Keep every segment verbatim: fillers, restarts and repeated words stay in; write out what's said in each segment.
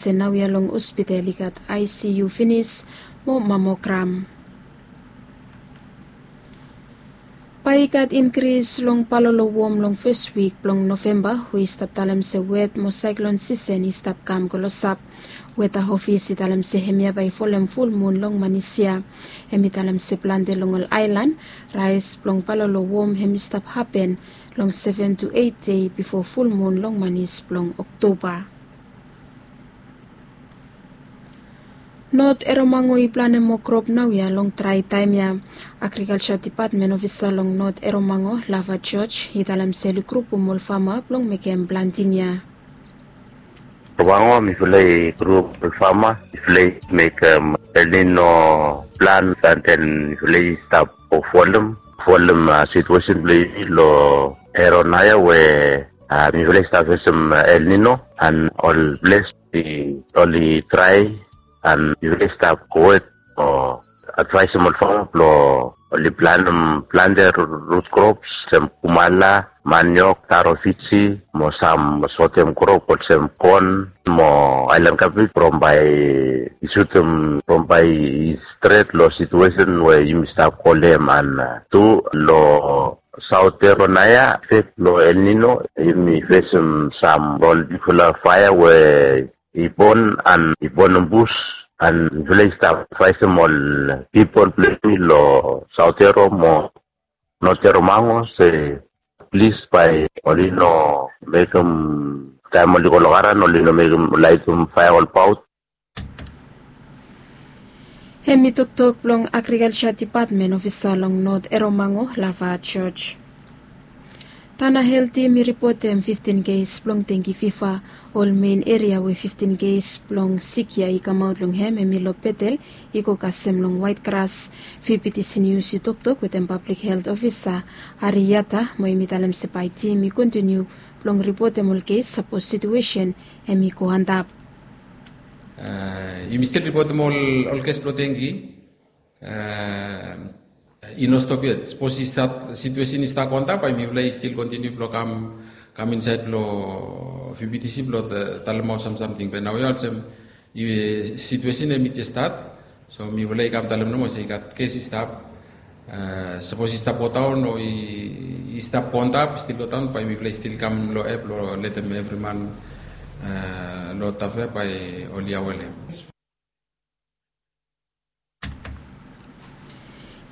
se naoia long hospital i gat ICU finis mo mammogram. Bae i gat inkris long palolo wom long fes wik blong Novemba, we i stap talem se wet mo saeklon sisen i stap kam klosap. Weta ofis i talem se hemia bae i folem fulmun long manis ya. Hem i talem se plante long ol aelan, raes blong palolo wom hem i stap hapen long seven to eit dei bifo fulmun long manis blong Oktoba. Not Eromango i planem moa krop naoia long drae taem ya. Agrikalja depatmen ofisa long Not Eromango, Lava George, i talem se oli grupum ol fama blong mekem planting ya. Eromango, mifala i grup ol fama, mifala i mekem El Nino plan, and then mifala i stap folem, folem, ah, situation blong yumi long Eronaia we, ah, mifala i stap fesem, ah, El Nino, and ol ples i oli drae, and mifala i stap go wet o advaesem ol fama blong oli planem plante root crops olsem kumala, maniok, taro Fiji, mo sam sotem krop olsem kon mo aelan kabej from bae i sutem, from bae i stret long situation we yumi stap kolem. And, ah, tu long Saot Eronaia, efek blong El Nino, yumi fesem sam ol bigfala faea we i bon, and i bonem bus, and mifala i stap advaesem ol pipol blong yumi long Saot Ero mo Not Eromango se plis bae oli no mekem, taem oli go long aran oli no mekem, laetem faea olbaot. Hem i toktok blong Agrikalja Depatmen ofisa long Not Eromango, Lava George. Tana Helt Tim i ripotem fiftin kes blong dengi fiva. Ol men eria we fiftin kes blong sik ya i kamaot long hem, hem i long Betel, i go kasem long Waet Gras. VBTC Nius i toktok wetem pablik helt ofisa Ari Yata, mo hem i talem se bae tim i kontiniu blong ripotem ol kes sapos situesen hem i go antap. Ah, yumi stil ripotem ol, ol kes blong dengi. Ah, i no stop yet. Sapos i stat, situesen i stat go antap, bae mifala i stil kontiniu blong kam, kam insaed long VBTC blong ta-, talemaot sam samting. Be naoia olsem, i, situesen hem i jes stat. So mifala i kam talem nomo se i gat kes i stap. Ah, sapos i stap godaon o i, i stap go antap, stil godaon, bae mifala i stil kam long app blong letem evri man, ah, long Tafea bae oli aware long hem.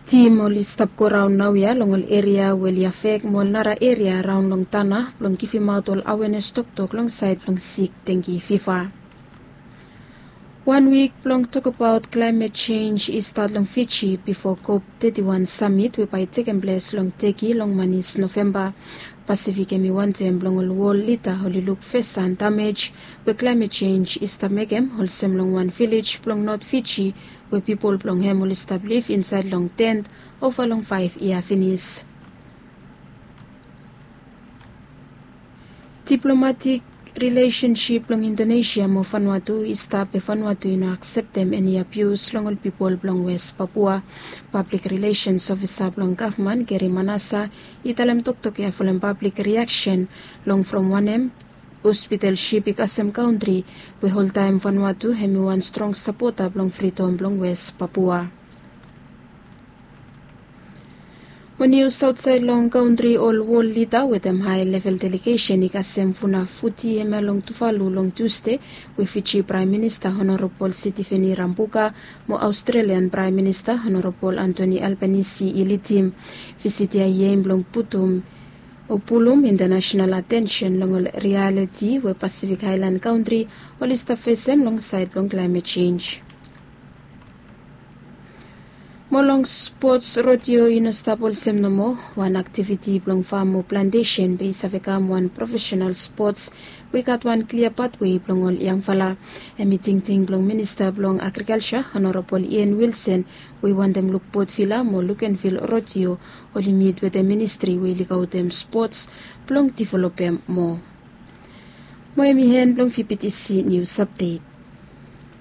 Tim oli stap goraon naoia long ol eria we oli afek mo ol nara eria raon long Tana blong givimaot ol awenes toktok long saed blong sik dengi fiva. Wan wik blong tokbaot klaemet jenj i stat long Fiji bifo COP teti wan samit we bae i tekem ples long Teki long manis Novemba. Pasifik hem i wantem blong ol wol lida oli luk fashan damej we klaemet jenj i stap mekem, olsem long wan vilej blong Not Fiji we pipol blong hem oli stap liv insaed long tent ova long faef yia finis. Diplomatik rilesensip blong Indonesia mo Vanuatu i stap be Vanuatu i no akseptem eni abius long ol pipol blong Wes Papua. Pablik rilesens ofisa blong gavman, Gary Manasa, i talem toktok ya folem pablik riaksen long from wanem hospital sip i kasem kantri we oltaem Vanuatu hem i wan strong sapota blong fridom blong Wes Papua. Mo nius aotsaed long kantri, ol wol lida wetem hae level delegesen i kasem Funafuti hemia long Tuvalu long Tusde, we Fiji Praem Minista Honorabol Sitiveni Rabuka mo Aostrelian Praem Minista Honorabol Anthony Albanese i lidim. Visit ya i aem blong putum o pulum intanasenal atensen long ol rialiti we Pasifik Aelan kantri oli stap fesem long saed blong klaemet jenj. Mo long spots, rodeo i no stap olsem nomo. Wan aktiviti blong fam o plantesen be i save kam wan profesenal spots we i gat wan klia patwe blong ol yangfala. Hem i tingting blong Minista blong Agrikalja, Honorabol Ian Wilson, we i wantem luk Potvila mo Lukenvil rodeo oli mit wetem ministri we i lukaotem spots blong developem moa. Mo hem i en blong VBTC nius apdet.